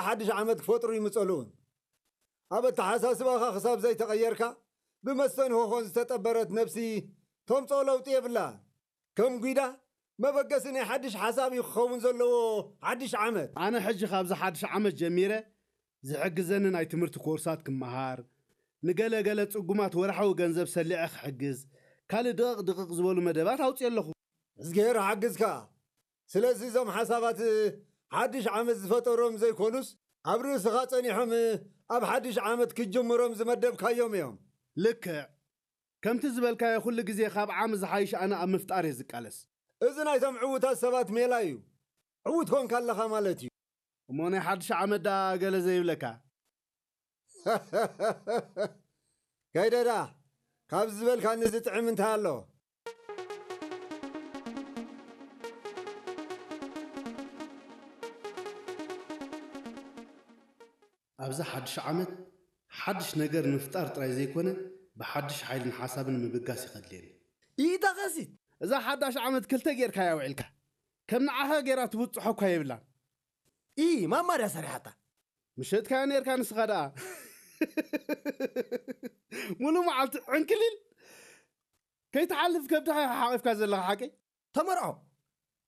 ሓድሽ ዓመት ክፈጥሩ ይምጸሉን። ኣብ ኣተሓሳስባኻ ክሳብ ዘይተቐየርካ፣ ብመስተንሆኾን ዝተጠበረት ነብሲ ተምጽኦ ለውጢ የብላ። ከም ጒዳ፣ መበገሲ ናይ ሓድሽ ሓሳብ እዩ ክኸውን ዘለዎ ሓድሽ ዓመት። ኣነ ሕጂ ካብዚ ሓድሽ ዓመት ጀሚረ ዝሕግዘኒ ናይ ትምህርቲ ኮርሳት ክመሃር፣ ንገለ ገለ ጽጉማት ወርሓዊ ገንዘብ ሰሊዐ ክሕግዝ፣ ካልእ ድቕቕ ድቕቕ ዝበሉ መደባት ኣውፅየ ኣለኹ። እዝግሄር ሓግዝካ። ስለዚ እዞም ሓሳባት ሓድሽ ዓመት ዝፈጠሮም ዘይኮኑስ፣ ኣብ ርእስኻ ጸኒሖም ኣብ ሓድሽ ዓመት ክትጅምሮም ዝመደብካዮም እዮም። ልክዕ። ከምቲ ዝበልካዮ ኩሉ ግዜ ካብ ዓም ዝሓይሽ ኣነ ኣብ ምፍጣር እየ ዝቃለስ። እዚ ናይቶም ዕዉታት ሰባት ሜላ እዩ። ዕዉት ኮንካ ኣለኻ ማለት እዩ። እሞ ናይ ሓድሽ ዓመት ደኣ ገለ ዘይብለካ? ከይደዳ፣ ካብዚ ዝበልካኒ ዝጥዕም እንታይ ኣሎ? ኣብዚ ሓድሽ ዓመት ሓድሽ ነገር ንምፍጣር ጥራይ ዘይኮነ፣ ብሓድሽ ሓይልን ሓሳብን ምብጋስ እዩ ከድልየኒ። ኢታ ኸሲት! እዛ ሓዳሽ ዓመት ክልተ ጌርካ እያ ውዒልካ። ከም ንዓኻ ጌራ ትብጽሖ እኳ የብላን። ኢ ማማ ድያ ሰሪሓታ? ምሸጥካያ ኔርካ ንስኻ ደኣ። ሙሉ መዓልቲ ዕንክሊል ከይትሓልፍ ከብድኻ ሓቂፍካ ዘለኻ ሓቀይ? ተመርዖ።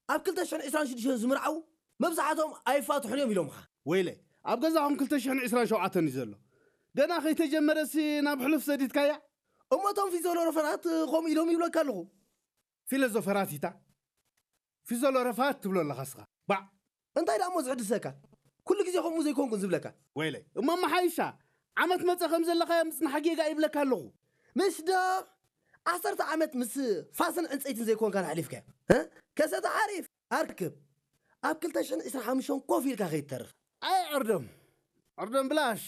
ኣብ ክልተ ሽሕን ዕስራን ሽዱሽተን ዝምርዓው መብዛሕትኦም ኣይፋትሑን እዮም ኢሎምኻ። ወይለ፣ ኣብ ገዛኹም ክልተ ሽሕን ዕስራን ሸውዓተን እዩ ዘሎ። ገና ከይተጀመረሲ ናብ ሕሉፍ ሰዲድካያ? እሞ እቶም ፊዞሎሮፈራት ከምኡ ኢሎም ይብለካ ኣለኹ። ፊሎዞፈራት ኢታ? ፊዞሎረፋት ትብሎ ኣለኻ እስኻ። ባዕ! እንታይ ደኣ እሞ ዝሕድሰካ? ኩሉ ግዜ ከምኡ ዘይኮንኩን ዝብለካ። ወይለይ፣ እሞ መሓይሻ፣ ዓመት መጸ ከም ዘለኻዮ ምጽናሕ ጌጋ ይብለካ ኣለኹ። ምሽ ዶ ዓሰርተ ዓመት ምስ ፋስን ዕንጸይትን ዘይኮንካ ኣሕሊፍካዮ? እ? ከሰተ ሓሪፍ ኣርክብ። ኣብ ክልተ ሽሕን ዕስራን ሓሙሽተን ኮፍ ኢልካ ከይትተርፍ። ኣይ ዕርዶም፣ ዕርዶም ብላሽ።